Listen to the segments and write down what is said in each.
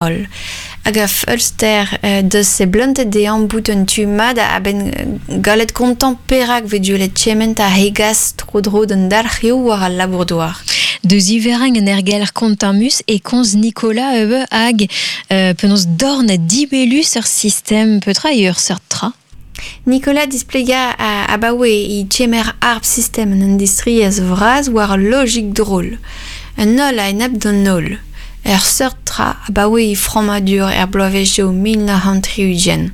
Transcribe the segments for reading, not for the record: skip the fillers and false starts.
Holl. Hag a feulster deus seblantet dezhañ bout un tu mat a-benn gallet kontañ perak 'vez duellet kement a hegas tro-dro d'an dalc'hioù war al labour-douar. Deus iverrañ un aergelc'h kontammus e komz Nicolas ivez hag penaos dorn dibellus ur sistem petra eo ur seurt tra? Nicolas displegañ abaoe e kemer harp sistem an industriezh vras war ul logik drol. An holl a-enep d'an holl. Ur seurt tra abaoe e frammadur er bloavezhioù 1960.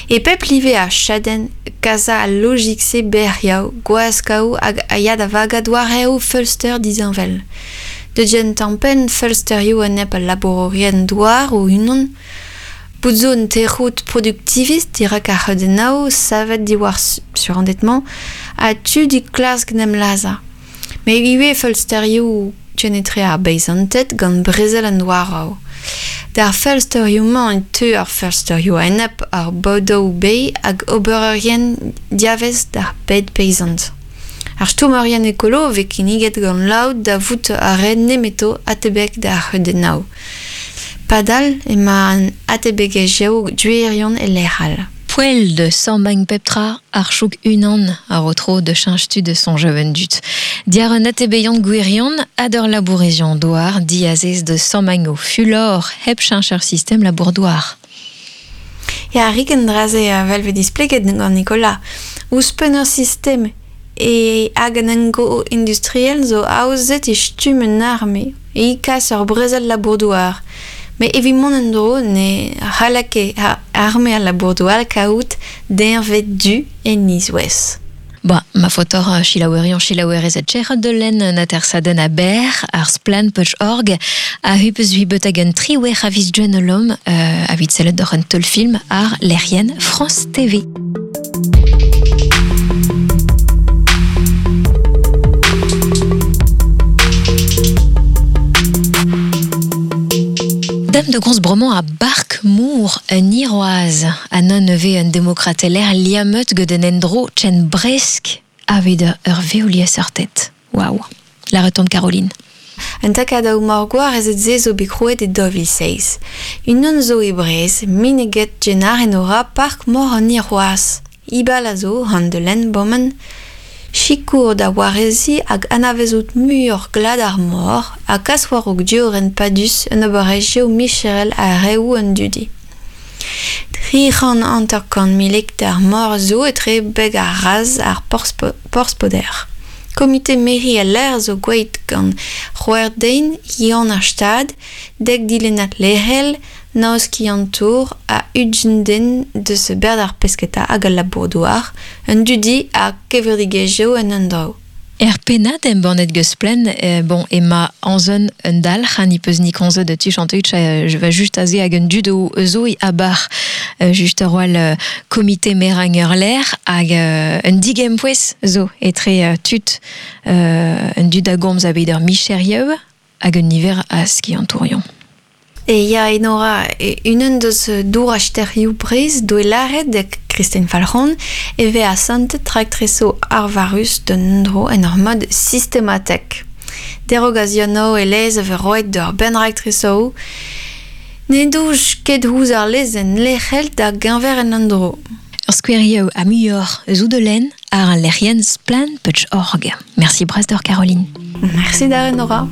E pep live ar chadenn kasañ al logik-se bec'hiañ, gwaskaoù hag a ya da vagañ doareoù feulster disheñvel. Da gentañ-penn feulsterioù enep al labourourien-douar o-unan, Bout zo un tec'hout produktivist dirak ar c'heudennoù savet diwar surended-mañ ha tud e klask en em lazhañ. Met ivez feulsterioù kenetre ar beizanted gant brezel an douaroù. D'ar feulsterioù-mañ e teu ar feulsterioù a-enep ar bodoù beilh hag obererien diavaez d'ar bed peizant. Ar stourmerien ekolo a vez kinniget gant laod da vout ar re nemeto atebek d'ar c'heudennoù. Padal emañ an atebegezhioù gwirion e lec'h all. Poell de sammañ pep tra ar chouk unan a ro tro da cheñch tu da soñjal an dud. Diàr un atebeion gwirion ha d'ur labourezion douar diazez da sammañ o fulor hep cheñch ar sistem labour-douar. Ya, rik an dra-se evel vez displeget gant Nicolas. Ouzhpenn ur sistem e hag an endro industriel zo aozet e stumm un arme e kas ur brezel labour-douar. Met evit mont en-dro ne c'halla ket arme al labour-douar kaout deñved du en Izwez. Ba, ma faotoc'h selaouerion selaouerezed trec'het da lenn un atersadenn a-berr ar splann.org a hupeus huibet hag un triwec'h a viz Gwenholom evit sellet doc'h un teulfilm àr lec'hienn France TV. Dam de gomz bremañ a Bark Moor un Iroaz ha nann ivez un demokrateler liammet gant un endro ken bresk aveit ur vev-liesseurted. Waouh. La retombe Caroline. Un takad morgwar ez se zo bet krouet e 2007. Unan zo e Breizh, mineget Genar Enora Park Mor an Irwazh. Ibal a zo, han de lenn bomen, sikour da wareziñ hag anavezout muioc'h glad ar mor ha kas war-raok diorren padus un obererezhioù micherel ha reoù an dudi. 350 hektar mor zo etre beg ar Raz ar Porzh-Poder. Komite meriñ al lec'h zo gwelet gant c'hwec'h den hiziv ar Stad, dek dilennad lec'hel, nav skiantour ha ugent den deus berzh ar pesketa hag al labour-douar, un dudi ha kevredigezhioù en un dro. Er pennad embannet geus Splann, bon, ema anzon un dalc'h, ha ni peus ni komzet de tu chanteut, je va just aze hag un dud o zo i abar just ur wall komite merañ ur lec'h hag un digempouez zo etre tud un dud a gomz aveit ur micherioù hag un niver a skiantourion. E ya Enora, unan deus dour-asterioù Breizh doe lâret da Kristen Falc'hon e vez asantet raktresoù arvarus d'un endro en ur mod sistematek. Derogazionoù e-leizh a vez roet d'ur bern raktresoù ne douj ket ouzh ar lezenn lec'hel da geñver en endro. Ur skouerioù ha muioc'h eus out da lenn àr al lec'hienn splann.org. Merci bras deoc'h Caroline. Merci da Enora.